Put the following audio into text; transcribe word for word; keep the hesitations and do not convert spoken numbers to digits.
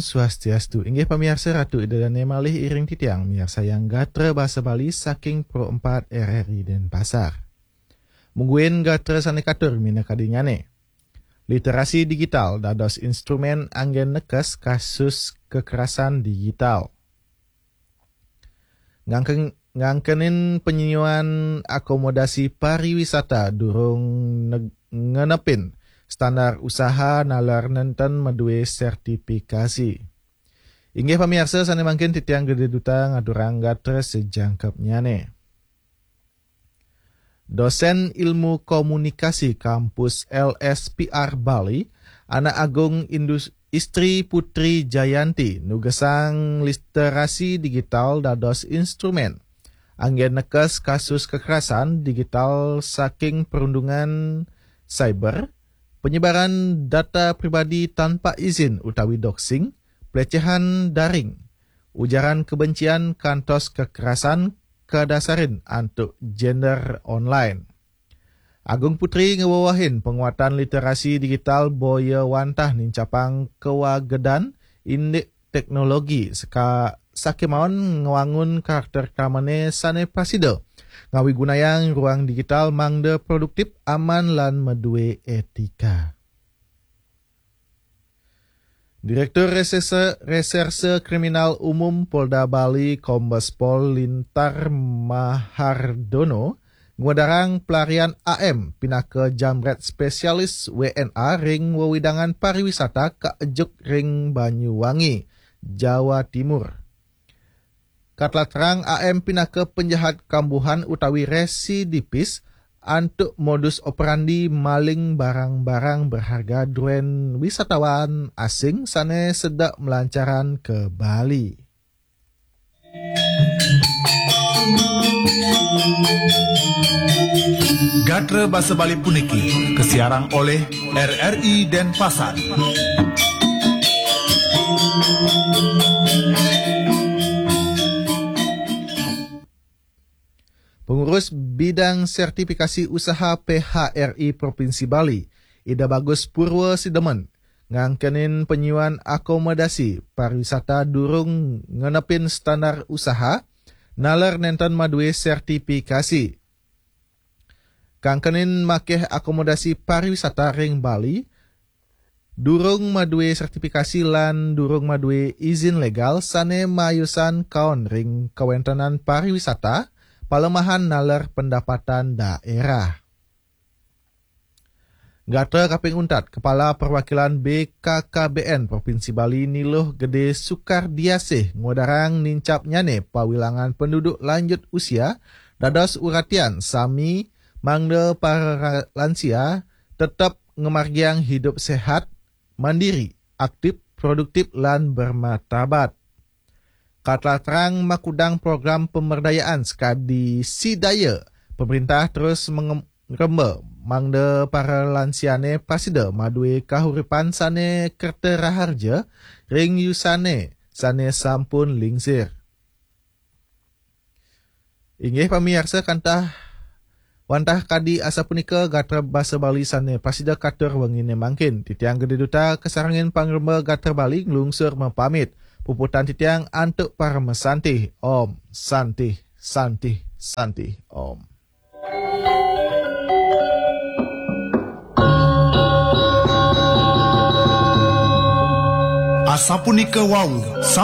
Swastiastu. Inggih pamiarsa, Ratu Ida Dane malih iring titiang miarsayang gatra basa Bali saking Pro empat R R I Denpasar. Mungguin gatra sane katur minakadingane. Literasi digital dados instrumen anggen nekes kasus kekerasan digital. Ngangken, ngangkenin penyuan akomodasi pariwisata durung neg-, ngenepin standar usaha nalar nenten madue sertifikasi. Inggih pamiarsa, sane mangkin titiang Gede Duta ngaturang gatra sejangkepnyane. Dosen Ilmu Komunikasi Kampus L S P R Bali, Anak Agung Indus-, Istri Putri Jayanti, nugesang literasi digital dados instrumen anggen nekes kasus kekerasan digital saking perundungan cyber, penyebaran data pribadi tanpa izin utawi doxing, pelecehan daring, ujaran kebencian kantos kekerasan kadasarin antuk gender online. Agung Putri ngewewehin penguatan literasi digital boya wantah nincapang kewagedan indik teknologi seka-, sakemawon ngwangun karakter kramane sane prasida ngawigunayang ruang digital mangda produktif, aman, lan madue etika. Direktur Reserse, Reserse Kriminal Umum Polda Bali, Kombes Pol Lintar Mahardono, ngwedarang pelarian A M pinaka jambret spesialis W N A ring wewidangan pariwisata kaejuk ring Banyuwangi, Jawa Timur. Katlatrang A M pinaka penjahat kambuhan utawi residipis antuk modus operandi maling barang-barang berharga druen wisatawan asing sane sedek melancaran ke Bali. Gatra basa Bali puniki kesiarang oleh R R I Denpasar. Pengurus Bidang Sertifikasi Usaha P H R I Provinsi Bali, Ida Bagus Purwa Sidemen, ngangkenin penyuan akomodasi pariwisata durung ngenepin standar usaha, naler nenten madue sertifikasi. Kangkenin makeh akomodasi pariwisata ring Bali, durung madue sertifikasi lan durung madue izin legal sane mayusan kaon ring kawentenan pariwisata, palemahan naler pendapatan daerah. Gatra kaping untat, Kepala Perwakilan B K K B N Provinsi Bali Niluh Gede Sukardiasih ngwedarang nincapnyane pawilangan penduduk lanjut usia dados uratian sami mangda para lansia tetep ngemargiang hidup sehat, mandiri, aktif, produktif, lan bermartabat. Katlatrang makudang program pemerdayaan sekadi sidaya, pemerintah terus mengem-, ngremba mangda para lansiane prasida madue kahuripan sane kerta raharja ring yusane sane sampun lingsir. Inggih pamiarsa, kantah wantah kadi asapunika gatra basa Bali sane prasida katur wengine mangkin. Titiang Gede Duta kasarengin pangremba gatra Bali nglungsur mapamit. Puputang titiang antuk parama santih. Om Santih, Santih, Santih, Om. Asapunika wau